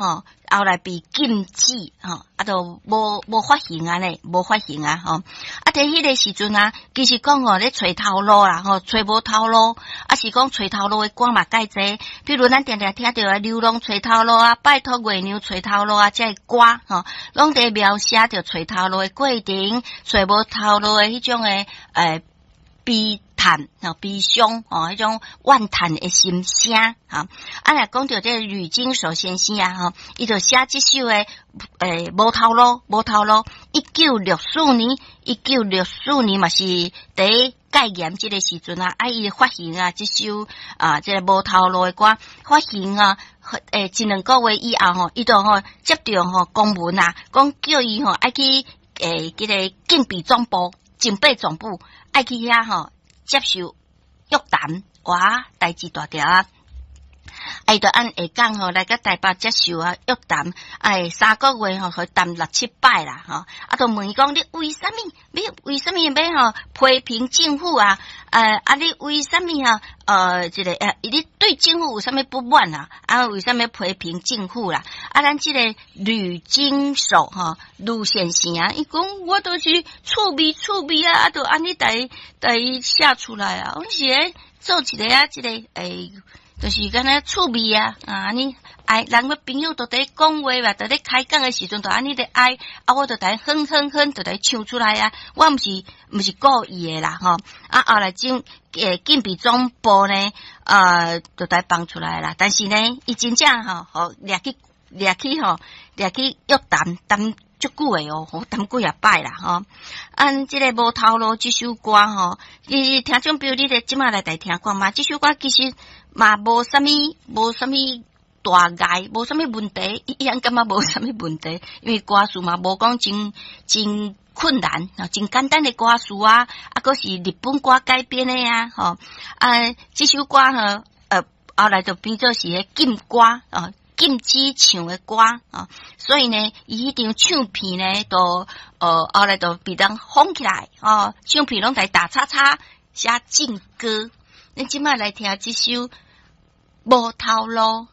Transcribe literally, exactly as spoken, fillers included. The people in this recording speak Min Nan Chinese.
吼，後來被禁止，吼，啊，都無無發行啊咧，無發行啊，吼。啊，佇彼個時陣啊，其實講吼咧揣頭路啦，吼，揣無頭路，啊是講揣頭路的歌嘛蓋濟。比如咱定定聽著啊，流浪揣頭路啊，拜託月娘揣頭路啊，這个歌吼，攏佇描寫著揣頭路的過程，揣無頭路的彼種的欸悲嘆、悲傷哦，彼種怨嘆的心聲，哈。啊，若講著這個呂經手先生啊，吼，伊就寫這首的欸無頭路，無頭路。一九六四年，一九六四年嘛是佇戒嚴這個時陣啊，啊，伊發行啊，這首啊，這個無頭路的歌發行啊，欸，一兩個月以後吼，伊就吼接著吼公文啊，講叫伊吼愛去欸，這個警備總部、警備總部愛去遐吼接受約談，哇，代誌大條啊！伊就按下崗吼來佮台北接受啊約談，哎，三個月吼，予談六七擺啦吼，啊，就問伊講你為啥物？你為啥物欲吼批評政府啊？呃，啊，你為啥物啊？呃，這個呃，你對政府有啥物不滿啊？啊，為啥物批評政府啦？啊，咱這個呂經手吼，呂先生啊，伊講我都是趣味趣味啊，啊，就按呢共共伊寫出來啊，阮是咧做一个啊，這個欸。就是敢若趣味啊，啊，按呢哀，人个朋友都佇講話嘛，佇咧開講的時陣，就按呢咧哀，啊，我就共哼哼哼，就共唱出來啊。我毋是毋是故意的啦，吼。啊，後來警欸警備總部呢，呃，就共放出來啦。但是呢，伊真正吼，予掠去掠去吼，掠去約談談足久的哦，談幾仔擺啦，吼。按這个無頭路這首歌吼，伊聽眾朋友，你咧這馬來來聽看覓，這首歌其實嘛無啥物，無啥物大礙，無啥物問題，伊樣感覺無啥物問題，因為歌詞嘛無講真真困難，真簡單的歌詞啊，啊，閣是日本歌改編的啊，吼，啊，這首歌吼，呃，後來就變做是彼禁歌啊，禁止唱的歌啊，所以呢，伊彼張唱片呢，都呃後來就被人封起來，哦，唱片攏共打叉叉寫禁歌。咱這馬來聽這首無頭路。